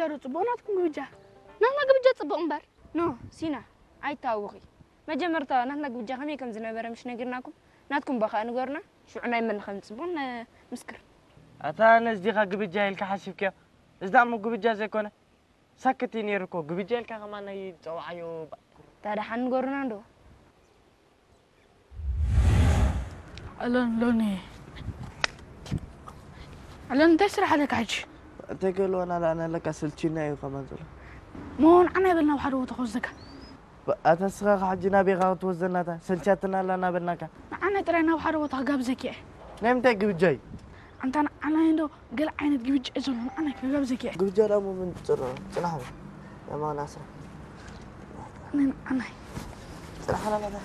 ሩ ጽቡቕ ናትኩም ግብጃ። ናትና ግብጃ ጽቡቕ እምበር። ኖ፣ ሲና፣ ኣይታወኺ። መጀመርታ ናትና ግብጃ ከመይ ከም ዝነበረ ምሽ ነጊርናኩም፣ ናትኩም በኻ ንገሩና። ሽዑ ናይ መን ከም ጽቡቕ ንምስክር። ኣታ ነዚ ዲኻ ግብጃ ኢልካ ሓሲብክዮ? እዚ ደኣ እሞ ግብጃ ዘይኮነ ሳክት እዩ ነይሩ እኮ። ግብጃ ኢልካ ከማን ኣይትጸውዓዮ። ባ- ታዲያ ሓን ንገሩና እንዶ። ኣሎን ሎኒ ኣሎን እንታይ ስራሕ ኣለካ ሕጂ? እንታይ ክህልወና ደኣ ኣለካ፣ ስልችና እዩ ከማን ዘሎ። ሞ ንዓና ይበል ናብ ሓደ ቦታ ክወስደካ። ኣታ እስኻ ኸ ሕጂ ናበይ ኢኻ ክትወስደና? እታ ሰልችያትና ኣላ እናበልናካ። ንዓና ጥራይ ናብ ሓደ ቦታ ክጋብዘኪ እየ። ናይ ምንታይ ግብጃ እዩ? ኣንታ ንዓና እንዶ ገለ ዓይነት ግብጃ እዩ ዘሎ፣ ንዓና ክጋብዘኪ እየ። ግብጃ ደኣ እሞ ምን ትጽርሮ? ጽናሕ በል። የማና ስራሕ። ንዓና ጽናሕ ናባታ።